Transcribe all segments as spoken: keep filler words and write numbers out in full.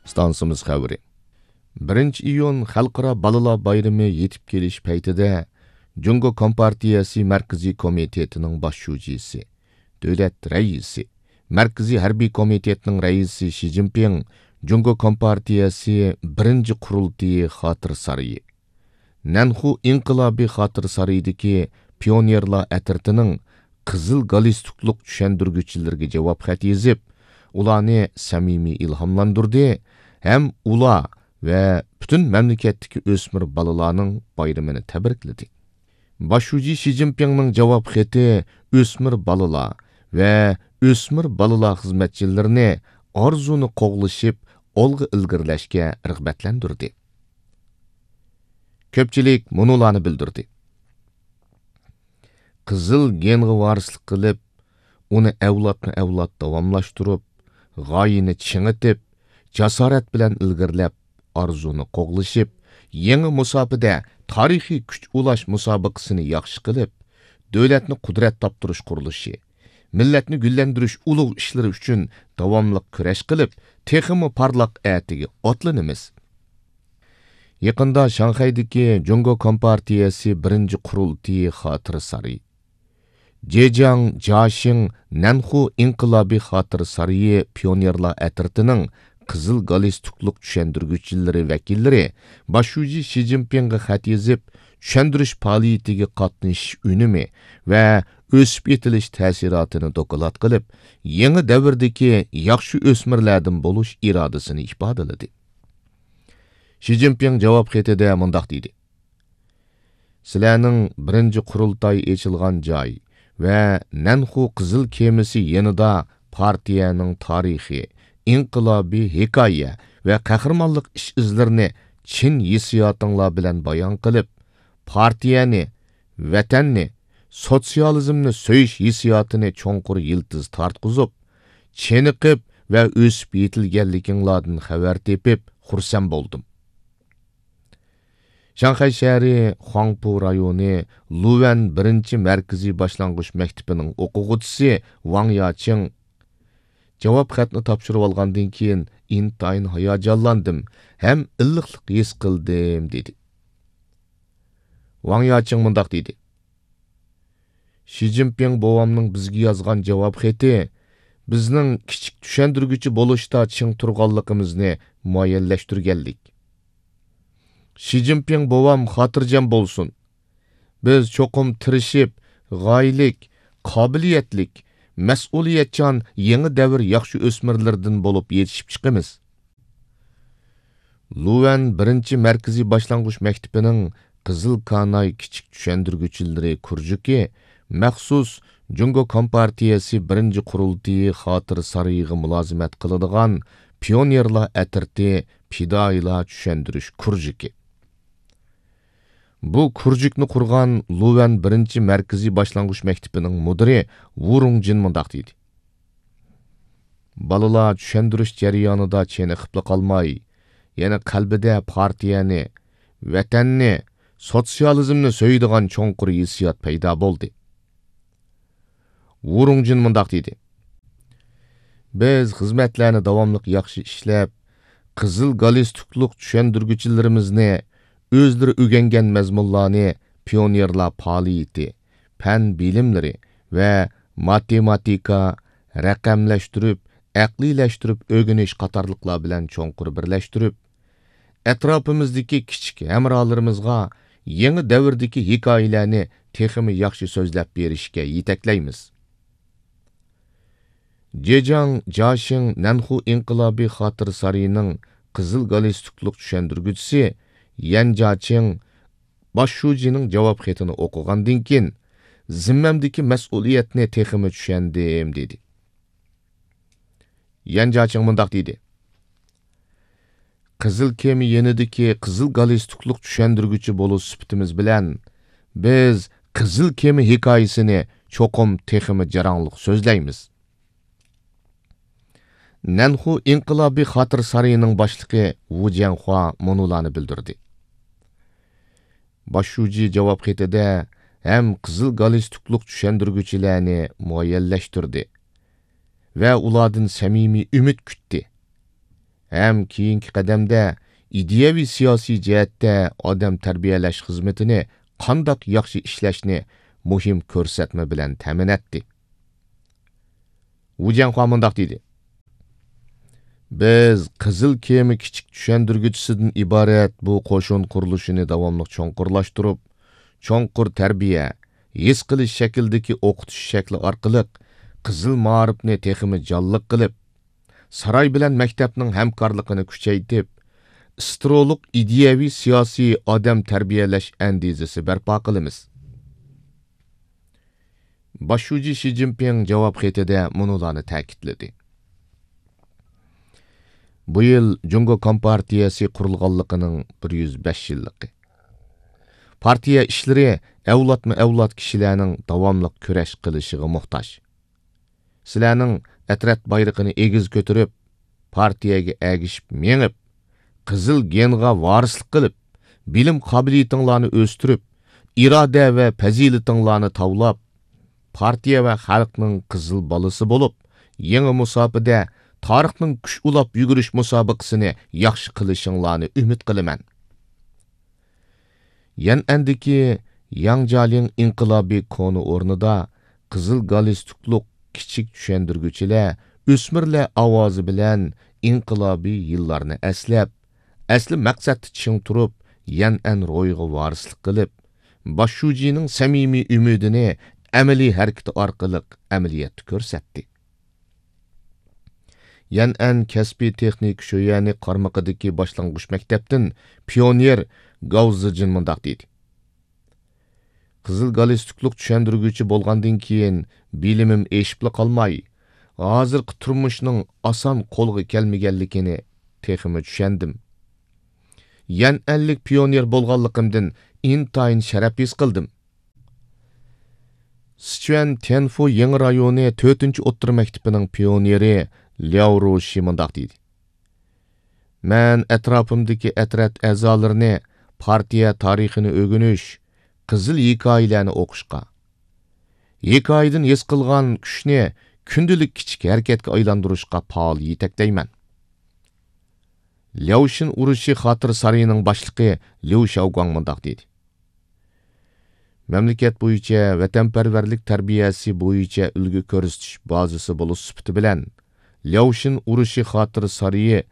ئىستانسىمىز خەۋىرى. بىرىنچى ئىيۇن خەلقئارا بالىلار بايرىمى يېتىپ كېلىش پەيتىدە، جۇڭگو كومپارتىيەسى مەركىزىي كومىتېتىنىڭ باش شۇجىسى، دۆلەت رەئىسى، مەركىزىي ھەربىي كومىتېتنىڭ رەئىسى شى جىنپىڭ جۇڭگو كومپارتىيەسى بىرىنچى قۇرۇلتىيى خاتىرە سارىيى، نەنخۇ ئىنقىلابىي خاتىرە سارىيىدىكى پىيونېرلار ئەترىتىنىڭ قىزىل گالىستۇكلۇق چۈشەندۈرگۈچىلىرىگە جاۋاب خەت يېزىپ، ئۇلارنى سەمىمىي ئىلھاملاندۇردى ھەم ئۇلار ۋە پۈتۈن مەملىكەتتىكى ئۆسمۈر بالىلارنىڭ بايرىمىنى تەبرىكلىدى. باش شۇجى شى جىنپىڭنىڭ جاۋاب خېتى ئۆسمۈر بالىلار ۋە ئۆسمۈر بالىلار خىزمەتچىلىرىنى ئارزۇنى قوغلىشىپ، ئالغا ئىلگىرىلەشكە رىغبەتلەندۈردى. كۆپچىلىك مۇنۇلارنى بىلدۈردى: قىزىل گېنغا ۋارىسلىق قىلىپ، ئۇنى ئەۋلادمۇ ئەۋلاد داۋاملاشتۇرۇپ، غايىنى چىڭىتىپ، جاسارەت بىلەن ئىلگىرىلەپ، ئارزۇنى قوغلىشىپ، يېڭى مۇساپىدە تارىخىي كۈچ ئۇلاش مۇسابىقىسىنى ياخشى قىلىپ، دۆلەتنى قۇدرەت تاپتۇرۇش قۇرۇلۇشى، مىللەتنى گۈللەندۈرۈش ئۇلۇغ ئىشلىرى ئۈچۈن داۋاملىق كۈرەش قىلىپ، تېخىمۇ پارلاق ئەتىگە ئاتلىنىمىز. يېقىندا شاڭخەيدىكى جۇڭگو كومپارتىيەسى بىرىنچى قۇرۇلتىيى خاتىرە سارىيى، جېجياڭ جياشىڭ نەنخۇ ئىنقىلابىي خاتىرە سارىيى پىيونېرلار ئەترىتىنىڭ قىزىل گالىستۇكلۇق چۈشەندۈرگۈچىلىرى ۋەكىللىرى باش شۇجى شى جىنپىڭغا خەت يېزىپ، چۈشەندۈرۈش پائالىيىتىگە قاتنىشىش ئۈنۈمى ۋە ئۆسۈپ يېتىلىش تەسىراتىنى دوكلات قىلىپ، يېڭى دەۋردىكى ياخشى ئۆسمۈرلەردىن بولۇش ئىرادىسىنى ئىپادىلىدى. شى جىنپىڭ جاۋاب خېتىدە مۇنداق دېدى: سىلەرنىڭ بىرىنچى قۇرۇلتاي ئېچىلغان جاي ۋە نەنخۇ قىزىل كېمىسى يېنىدا پارتىيەنىڭ تارىخى، ئىنقىلابىي ھېكايە ۋە قەھرىمانلىق ئىش-ئىزلىرىنى چىن ھېسسىياتىڭلار بىلەن بايان قىلىپ، پارتىيەنى، ۋەتەننى، سوتسىيالىزمنى سۆيۈش ھېسسىياتىنى چوڭقۇر يىلتىز تارتقۇزۇپ، چېنىقىپ ۋە ئۆسۈپ يېتىلگەنلىكىڭلاردىن خەۋەر تېپىپ خۇرسەن بولدۇم. شاڭخەي شەھىرى خۇاڭپۇ رايونى لۇۋەن بىرىنچى مەركىزىي باشلانغۇچ مەكتىپىنىڭ ئوقۇغۇچىسى ۋاڭ ياچىڭ جاۋاب خەتنى تاپشۇرۇۋالغاندىن كېيىن ئىنتايىن ھاياجانلاندىم ھەم ئىللىقلىق ھېس قىلدىم، دېدى. ۋاڭ ياچىڭ مۇنداق دېدى: شى جىنپىڭ بوۋامنىڭ بىزگە يازغان جاۋاب خېتى بىزنىڭ كىچىك چۈشەندۈرگۈچى بولۇشتا چىڭ تۇرغانلىقىمىزنى مۇئەييەنلەشتۈرگەنلىك. شى جىنپىڭ بوۋام خاتىرجەم بولسۇن. بىز چوقۇم تىرىشىپ، غايىلىك، قابىلىيەتلىك، مەسئۇلىيەتچان يېڭى دەۋر ياخشى ئۆسمۈرلىرىدىن بولۇپ يېتىشىپ چىقىمىز. لۇۋەن بىرىنچى مەركىزىي باشلانغۇچ مەكتىپىنىڭ قىزىل كاناي كىچىك چۈشەندۈرگۈچىلىرى كۇرژۇكى مەخسۇس جۇڭگو كومپارتىيەسى بىرىنچى قۇرۇلتىيى خاتىرە سارىيىغا مۇلازىمەت قىلىدىغان پىيونېرلار ئەترىتى پىدائىيلار چۈشەندۈرۈش كۇرژۇكى. بۇ كۇرژۇكنى قۇرغان لۇۋەن بىرىنچى مەركىزىي باشلانغۇچ مەكتىپىنىڭ مۇدىرى ۋۇ رۇڭجىن مۇنداق دېدى: بالىلار چۈشەندۈرۈش جەريانىدا چېنىقىپلا قالماي، يەنە قەلبىدە پارتىيەنى، ۋەتەننى، سوتسىيالىزمنى سۆيىدىغان چوڭقۇر ھېسسىيات پەيدا بولدى. ۋۇ رۇڭجىن مۇنداق دېدى: بىز خىزمەتلەرنى داۋاملىق ياخشى ئىشلەپ، قىزىل گالىستۇكلۇق چۈشەندۈرگۈچىلىرىمىزنى ئۆزلىرى ئۆگەنگەن مەزمۇنلارنى پىيونېرلار پائالىيىتى، پەن بىلىملىرى ۋە ماتېماتىكا، رەقەملەشتۈرۈپ، ئەقلىيلەشتۈرۈپ ئۆگىنىش قاتارلىقلار بىلەن چوڭقۇر بىرلەشتۈرۈپ، ئەتراپىمىزدىكى كىچىك ھەمراھلىرىمىزغا يېڭى دەۋردىكى ھېكايىلەرنى تېخىمۇ ياخشى سۆزلەپ بېرىشكە يېتەكلەيمىز. جېجياڭ جياشىڭ نەنخۇ ئىنقىلابىي خاتىرە سارىيىنىڭ قىزىل گالىستۇكلۇق چۈشەندۈرگۈچىسى يەن جياچىڭ باش شۇجىنىڭ جاۋاب خېتىنى ئوقۇغاندىن كېيىن، زىممەمدىكى مەسئۇلىيەتنى تېخىمۇ چۈشەندىم، دېدى. يەن جياچىڭ مۇنداق دېدى: قىزىل كېمە يېنىدىكى قىزىل گالىستۇكلۇق چۈشەندۈرگۈچى بولۇش سۈپىتىمىز بىلەن، بىز قىزىل كېمە ھېكايىسىنى چوقۇم تېخىمۇ جاراڭلىق سۆزلەيمىز. نەنخۇ ئىنقىلابىي خاتىرە سارىيىنىڭ باشلىقى ۋۇ جيەنخۇا مۇنۇلارنى بىلدۈردى: باش شۇجى جاۋاب خېتىدە ھەم قىزىل گالىستۇكلۇق چۈشەندۈرگۈچىلەرنى مۇئەييەنلەشتۈردى ۋە ئۇلاردىن سەمىمىي ئۈمىد كۈتتى. ھەم كېيىنكى قەدەمدە ئىدىيەۋى سىياسىي جەھەتتە ئادەم تەربىيەلەش خىزمىتىنى قانداق ياخشى ئىشلەشنى مۇھىم كۆرسەتمە بىلەن تەمىنەتتى. ۋۇ جيەنخۇا مۇنداق دېدى: بىز قىزىل كېمە كىچىك چۈشەندۈرگۈچىسىدىن ئىبارەت بۇ قوشۇن قۇرۇلۇشىنى داۋاملىق چوڭقۇرلاشتۇرۇپ، چوڭقۇر تەربىيە، ھېس قىلىش شەكلىدىكى ئوقۇتۇش شەكلى ئارقىلىق قىزىل مائارىپنى تېخىمۇ جانلىق قىلىپ، ساراي بىلەن مەكتەپنىڭ ھەمكارلىقىنى كۈچەيتىپ، ئىسترولۇق ئىدىيەۋى سىياسىي ئادەم تەربىيەلەش ئەندىزىسى بەرپا قىلىمىز. باش شۇجى شى جىنپىڭ جاۋاب خېتىدە مۇنۇلارنى تەكىتلىدى: بۇ يىل جۇڭگو كومپارتىيەسى قۇرۇلغانلىقىنىڭ بىر يۈز بەش يىللىقى. پارتىيە ئىشلىرى ئەۋلادمۇ ئەۋلاد كىشىلەرنىڭ داۋاملىق كۈرەش قىلىشىغا موھتاج. سىلەرنىڭ ئەترەت بايرىقىنى ئېگىز كۆتۈرۈپ، پارتىيەگە ئەگىشىپ مېڭىپ، قىزىل گېنغا ۋارىسلىق قىلىپ، بىلىم قابىلىيىتىڭلارنى ئۆستۈرۈپ، ئىرادە ۋە پەزىلىتىڭلارنى تاۋلاپ، پارتىيە ۋە خەلقنىڭ قىزىل بالىسى بولۇپ، يېڭى مۇساپىدە تارىخنىڭ كۈچ ئۇلاپ يۈگۈرۈش مۇسابىقىسىنى ياخشى قىلىشىڭلارنى ئۈمىد قىلىمەن. يەنئەندىكى ياڭجالىڭ ئىنقىلابىي كونا ئورنىدا قىزىل گالستۇكلۇق كىچىك چۈشەندۈرگۈچىلەر ئۆسمۈرلەر ئاۋازى بىلەن ئىنقىلابىي يىللارنى ئەسلەپ، ئەسلى مەقسەتتە چىڭ تۇرۇپ، يەنئەن روھىغا ۋارىسلىق قىلىپ، باش شۇجىنىڭ سەمىمىي ئۈمىدىنى ئەمەلىي ھەرىكىتى ئارقىلىق ئەمەلىيەتتە كۆرسەتتى. يەنئەن كەسپىي تېخنىكا شۆيۈەنى قارمىقىدىكى باشلانغۇچ مەكتەپتىن پىيونېر گاۋ زىجىن مۇنداق دېدى: قىزىل گالستۇكلۇق چۈشەندۈرگۈچى بولغاندىن كېيىن، بىلىمىم ئېشىپلا قالماي، ھازىرقى تۇرمۇشنىڭ ئاسان قولغا كەلمىگەنلىكىنى تېخىمۇ چۈشەندىم. يەنئەنلىك پىيونېر بولغانلىقىمدىن ئىنتايىن شەرەپ ھېس قىلدىم. سىچۈەن تيەنفۇ يېڭى رايونى تۆتىنچى ئوتتۇرا مەكتىپىنىڭ پىيونېرى لياۋ روشى مۇنداق دېدى: مەن ئەتراپىمدىكى ئەترەت ئەزالىرىنى پارتىيە تارىخىنى ئۆگىنىش، قىزىل ھېكايىلەرنى ئوقۇشقا، ھېكايىدىن ھېس قىلغان كۈچنى كۈندىلىك كىچىك ھەرىكەتكە ئايلاندۇرۇشقا پائال يېتەكلەيمەن. لياۋشىن ئۇرۇشى خاتىرە سارىيىنىڭ باشلىقى ليۇ شياۋگۇاڭ مۇنداق دېدى: مەملىكەت بويىچە ۋەتەنپەرۋەرلىك تەربىيەسى بويىچە ئۈلگە كۆرسىتىش بازىسى بولۇش سۈپىتى بىلەن، لياۋشىن ئۇرۇشى خاتىرە سارىيى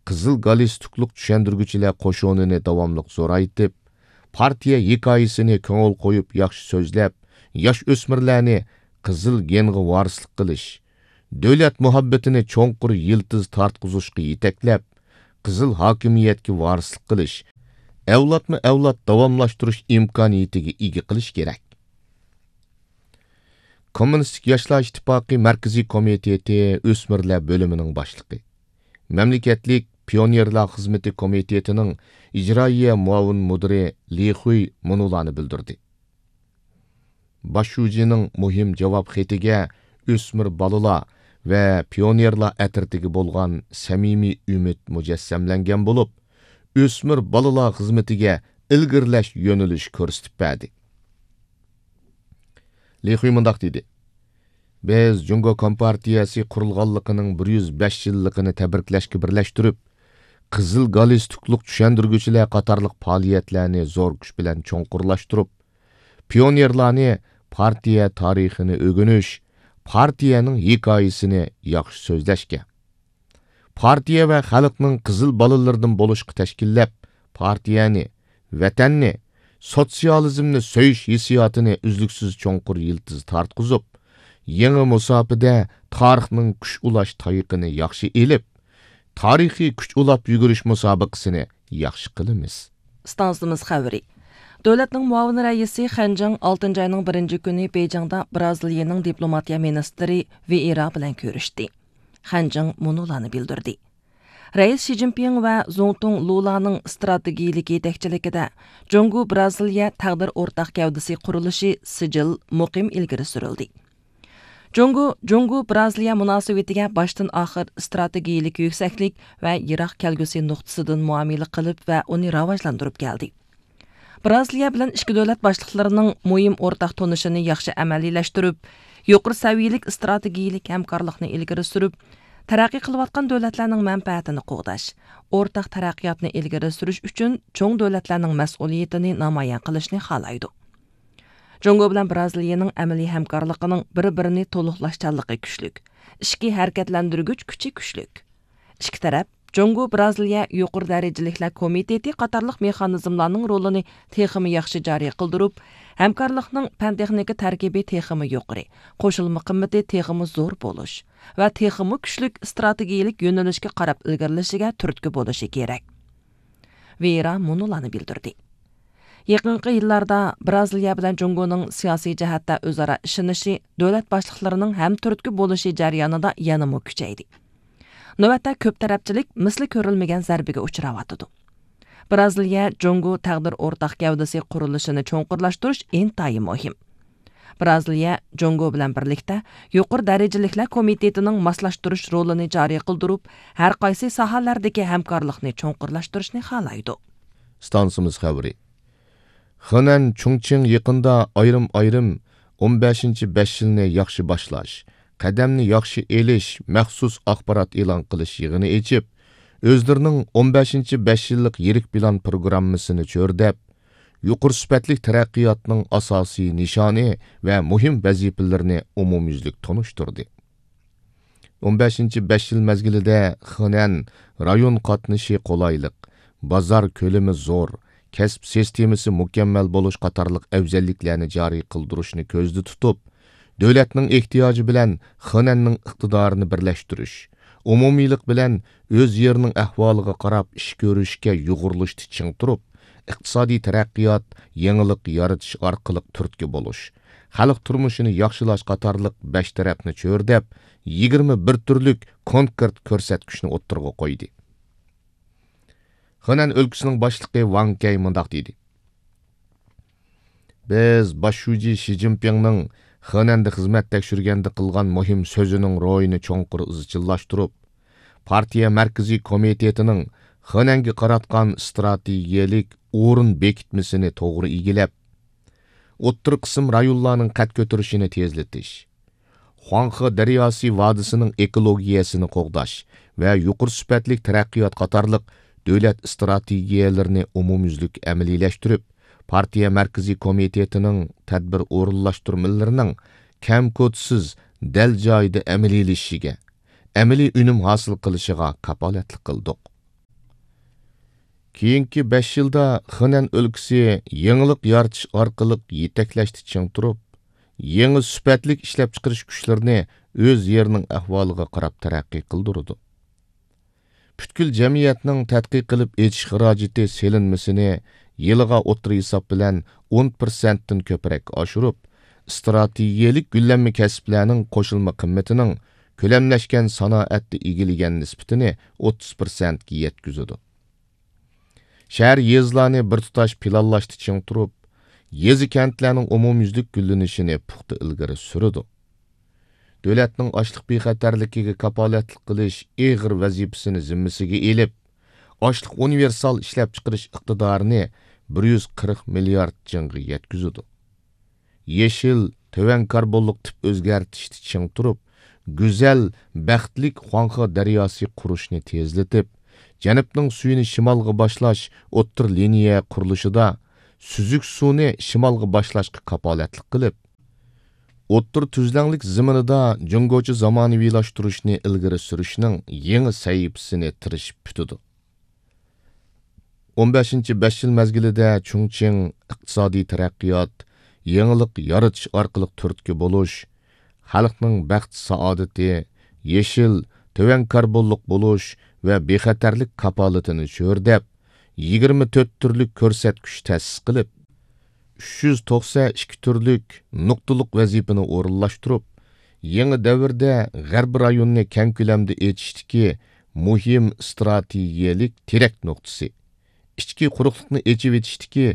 قىزىل گالستۇكلۇق چۈشەندۈرگۈچىلەر قوشۇنىنى داۋاملىق زورايتىپ، پارتىيە ھېكايىسىنى كۆڭۈل قويۇپ ياخشى سۆزلەپ، ياش ئۆسمۈرلەرنى قىزىل گېنغا ۋارىسلىق قىلىش، دۆلەت مۇھەببىتىنى چوڭقۇر يىلتىز تارتقۇزۇشقا يېتەكلەپ، قىزىل ھاكىمىيەتكە ۋارىسلىق قىلىش، ئەۋلادمۇ ئەۋلاد داۋاملاشتۇرۇش ئىمكانىيىتىگە ئىگە قىلىش كېرەك. كوممۇنىستىك ياشلار ئىتتىپاقى مەركىزىي كومىتېتى ئۆسمۈرلەر بۆلۈمىنىڭ باشلىقى، مەملىكەتلىك پىيونېرلار خىزمىتى كومىتېتىنىڭ ئىجرائىيە مۇئاۋىن مۇدىرى لى خۇي مۇنۇلارنى بىلدۈردى: باش شۇجىنىڭ مۇھىم جاۋاب خېتىگە ئۆسمۈر بالىلار ۋە پىيونېرلار ئەترىتىگە بولغان سەمىمىي ئۈمىد مۇجەسسەملەنگەن بولۇپ، ئۆسمۈر بالىلار خىزمىتىگە ئىلگىرىلەش يۆنىلىشى كۆرسىتىپ بەردى. لى خۇي مۇنداق دېدى: بىز جۇڭگو كومپارتىيەسى قۇرۇلغانلىقىنىڭ بىر يۈز بەش يىللىقىنى تەبرىكلەشكە بىرلەشتۈرۈپ، قىزىل گالستۇكلۇق چۈشەندۈرگۈچىلەر قاتارلىق پائالىيەتلەرنى زور كۈچ بىلەن چوڭقۇرلاشتۇرۇپ، پىيونېرلارنى پارتىيە تارىخىنى ئۆگىنىش، پارتىيەنىڭ ھېكايىسىنى ياخشى سۆزلەشكە، پارتىيە ۋە خەلقنىڭ قىزىل بالىلىرىدىن بولۇشقا تەشكىللەپ، پارتىيەنى، ۋەتەننى، سوتسىيالىزمنى سۆيۈش ھېسسىياتىنى ئۈزلۈكسىز چوڭقۇر يىلتىز تارتقۇزۇپ، يېڭى مۇساپىدە تارىخنىڭ كۈچ ئۇلاش تايىقىنى ياخشى ئېلىپ، تارىخىي كۈچ ئۇلاپ يۈگۈرۈش مۇسابىقىسىنى ياخشى قىلىمىز. ئىستانسىمىز خەۋىرى. دۆلەتنىڭ مۇئاۋىن رەئىسى خەنجىڭ ئالتىنچى ئاينىڭ بىرىنچى كۈنى بېيجىڭدا برازىلىيەنىڭ دىپلوماتىيە مىنىستىرى ۋېئېرا بىلەن كۆرۈشتى. خەنجىڭ مۇنۇلارنى بىلدۈردى: رەئىس شى جىنپىڭ ۋە زۇڭتۇڭ لۇلانىڭ ئىستراتېگىيىلىك يېتەكچىلىكىدە جۇڭگو برازىلىيە تەقدىر ئورتاق گەۋدىسى قۇرۇلۇشى سىجىل مۇقىم ئىلگىرى سۈرۈلدى. جۇڭگو، جۇڭگو برازىلىيە مۇناسىۋىتىگە باشتىن ئاخىر ئىستراتېگىيىلىك يۈكسەكلىك ۋە يىراق كەلگۈسى نۇقتىسىدىن مۇئامىلە قىلىپ ۋە ئۇنى راۋاجلاندۇرۇپ كەلدى. برازىلىيە بىلەن ئىككى دۆلەت باشلىقلىرىنىڭ مۇھىم ئورتاق تونۇشىنى ياخشى ئەمەلىيلەشتۈرۈپ، يۇقىرى سەۋىيەلىك ئىستراتېگىيىلىك ھەمكارلىقنى ئىلگىرى سۈرۈپ، تەرەققىي قىلىۋاتقان دۆلەتلەرنىڭ مەنپەئەتىنى قوغداش، ئورتاق تەرەققىياتنى ئىلگىرى سۈرۈش ئۈچۈن چوڭ دۆلەتلەرنىڭ مەسئۇلىيىتىنى نامايان قىلىشنى خالايدۇ. جۇڭگو بىلەن بىرازىلىيەنىڭ ئەمەلىي ھەمكارلىقىنىڭ بىر-بىرىنى تولۇقلاشچانلىقى كۈچلۈك، ئىچكى ھەرىكەتلەندۈرگۈچ كۈچى كۈچلۈك. ئىككى تەرەپ جۇڭگو بىرازىلىيە يۇقىرى دەرىجىلىكلەر كومىتېتى قاتارلىق مېخانىزملارنىڭ رولىنى تېخىمۇ ياخشى جارى قىلدۇرۇپ، ھەمكارلىقنىڭ پەن تېخنىكا تەركىبى تېخىمۇ يۇقىرى، قوشۇلما قىممىتى تېخىمۇ زور بولۇش ۋە تېخىمۇ كۈچلۈك ئىستراتېگىيىلىك يۆنىلىشكە قاراپ ئىلگىرىلىشىگە تۈرتكە بولۇشى كېرەك. ۋېيرا مۇنۇلارنى بىلدۈردى. يېقىنقى يىللاردا بىرازىلىيە بىلەن جۇڭگونىڭ سىياسىي جەھەتتە ئۆزئارا ئىشىنىشى، دۆلەت باشلىقلىرىنىڭ ھەمتۈرتكە بولۇشى جەريانىدا يەنىمۇ كۈچەيدى. نۆۋەتتە كۆپ تەرەپچىلىك مىسلى كۆرۈلمىگەن زەربىگە ئۇچراۋاتىدۇ. بىرازىلىيە جۇڭگو تەقدىر ئورتاق گەۋدىسى قۇرۇلۇشىنى چوڭقۇرلاشتۇرۇش ئىنتايىن مۇھىم. بىرازىلىيە جۇڭگو بىلەن بىرلىكتە يۇقىرى دەرىجىلىكلەر كومىتېتىنىڭ ماسلاشتۇرۇش رولىنى جارى قىلدۇرۇپ، ھەر قايسى ساھەلەردىكى ھەمكارلىقنى چوڭقۇرلاشتۇرۇشنى خالايدۇ. ئىستانسىمىز خەۋىرى. خېنەن چۇڭچىڭ يېقىندا ئايرىم-ئايرىم ئون بەشىنچى بەش يىلنى ياخشى باشلاش، قەدەمنى ياخشى ئېلىش مەخسۇس ئاخبارات ئېلان قىلىش يىغىنى ئېچىپ، ئۆزلىرىنىڭ ئون بەشىنچى بەش يىللىق يىرىك پىلان پروگراممىسىنى چۆرىدەپ، يۇقىرى سۈپەتلىك تەرەققىياتنىڭ ئاساسىي نىشانى ۋە مۇھىم ۋەزىپىلىرىنى ئومۇميۈزلۈك تونۇشتۇردى. ئون بەشىنچى بەش يىل مەزگىلىدە خېنەن رايون قاتنىشى قولايلىق، بازار كۆلىمى زور، كەسىپ سىستېمىسى مۇكەممەل بولۇش قاتارلىق ئەۋزەللىكلەرنى جارى قىلدۇرۇشنى كۆزدە تۇتۇپ، دۆلەتنىڭ ئېھتىياجى بىلەن خېنەننىڭ ئىقتىدارىنى بىرلەشتۈرۈش، ئومۇمىيلىق بىلەن ئۆز يېرىنىڭ ئەھۋالىغا قاراپ ئىش كۆرۈشكە يۇغۇرۇلۇشتا چىڭ تۇرۇپ، ئىقتىسادىي تەرەققىيات، يېڭىلىق يارىتىش ئارقىلىق تۈرتكە بولۇش، خەلق تۇرمۇشىنى ياخشىلاش قاتارلىق بەش تەرەپنى چۆرىدەپ، يىگىرمە بىر تۈرلۈك كونكرېت كۆرسەتكۈچنى ئوتتۇرىغا قويدى. خېنەن ئۆلكىسىنىڭ باشلىقى ۋاڭ كەي مۇنداق دېدى: بىز باش شۇجى شى جىنپىڭنىڭ خېنەندە خىزمەت تەكشۈرگەندە قىلغان مۇھىم سۆزىنىڭ روھىنى چوڭقۇر ئىزچىللاشتۇرۇپ، پارتىيە مەركىزىي كومىتېتىنىڭ خېنەنگە قاراتقان ئىستراتېگىيەلىك ئورۇن بېكىتمىسىنى توغرا ئىگىلەپ، ئوتتۇرا قىسىم رايونلارنىڭ قەد كۆتۈرۈشىنى تېزلىتىش، خۇاڭخې دەرياسى ۋادىسىنىڭ ئېكولوگىيەسىنى قوغداش ۋە يۇقىرى سۈپەتلىك تەرەققىيات قاتارلىق دۆلەت ئىستراتېگىيەلىرىنى ئومۇميۈزلۈك ئەمەلىيلەشتۈرۈپ، پارتىيە مەركىزىي كومىتېتىنىڭ تەدبىر ئورۇنلاشتۇرمىلىرىنىڭ كەم-كوتىسىز، دەل جايىدا ئەمەلىيلىشىشىگە، ئەمەلىي ئۈنۈم ھاسىل قىلىشىغا كاپالەتلىك قىلدۇق. كېيىنكى بەش يىلدا خېنەن ئۆلكىسى يېڭىلىق يارىتىش ئارقىلىق يېتەكلەشتە چىڭ تۇرۇپ، يېڭى سۈپەتلىك ئىشلەپچىقىرىش كۈچلىرىنى ئۆز يېرىنىڭ ئەھۋالىغا قاراپ تەرەققىي قىلدۇرىدۇ. پۈتكۈل جەمئىيەتنىڭ تەتقىق قىلىپ ئېچىش خىراجىتى سېلىنمىسىنى يىلىغا ئوتتۇرا ھېساب بىلەن ئون پىرسەنتتىن كۆپرەك ئاشۇرۇپ، ئىستراتېگىيەلىك گۈللەنمە كەسىپلەرنىڭ قوشۇلما قىممىتىنىڭ كۆلەملەشكەن سانائەتتە ئىگىلىگەن نىسبىتىنى ئوتتۇز پىرسەنتكە يەتكۈزىدۇ. شەھەر، يېزىلارنى بىر تۇتاش پىلانلاشتا چىڭ تۇرۇپ، يېزا، كەنتلەرنىڭ ئومۇميۈزلۈك گۈللىنىشىنى پۇختا ئىلگىرى سۈرىدۇ. دۆلەتنىڭ ئاشلىق بىخەتەرلىكىگە كاپالەتلىك قىلىش ئېغىر ۋەزىپىسىنى زىممىسىگە ئېلىپ، ئاشلىق ئۇنىۋېرسال ئىشلەپچىقىرىش ئىقتىدارىنى بىر يۈز قىرىق مىليارد جىڭغا يەتكۈزىدۇ. يېشىل، تۆۋەن كاربونلۇق تىپ ئۆزگەرتىشتە چىڭ تۇرۇپ، گۈزەل، بەختلىك خۇاڭخې دەرياسى قۇرۇشنى تېزلىتىپ، جەنۇبنىڭ سۈيىنى شىمالغا باشلاش ئوتتۇرا لىنىيە قۇرۇلۇشىدا سۈزۈك سۇنى شىمالغا باشلاشقا كاپالەتلىك قىلىپ، ئوتتۇرا تۈزلەڭلىك زېمىنىدا جۇڭگوچە زامانىۋىلاشتۇرۇشنى ئىلگىرى سۈرۈشنىڭ يېڭى سەھىپىسىنى تىرىشىپ پۈتىدۇ. ئون بەشىنچى بەش يىل مەزگىلىدە چۇڭچىڭ ئىقتىسادىي تەرەققىيات، يېڭىلىق يارىتىش ئارقىلىق تۈرتكە بولۇش، خەلقنىڭ بەخت-سائادىتى، يېشىل، تۆۋەن كاربونلۇق بولۇش ۋە بىخەتەرلىك كاپالىتىنى چۆرىدەپ، يىگىرمە تۆت تۈرلۈك كۆرسەتكۈچ تەسىس قىلىپ، ئۈچ يۈز توقسەن ئىككى تۈرلۈك نۇقتىلىق ۋەزىپىنى ئورۇنلاشتۇرۇپ، يېڭى دەۋردە غەربىي رايوننى كەڭ كۆلەمدە ئېچىشتىكى مۇھىم ئىستراتېگىيەلىك تىرەك نۇقتىسى، ئىچكى قۇرۇقلۇقنى ئېچىۋېتىشتىكى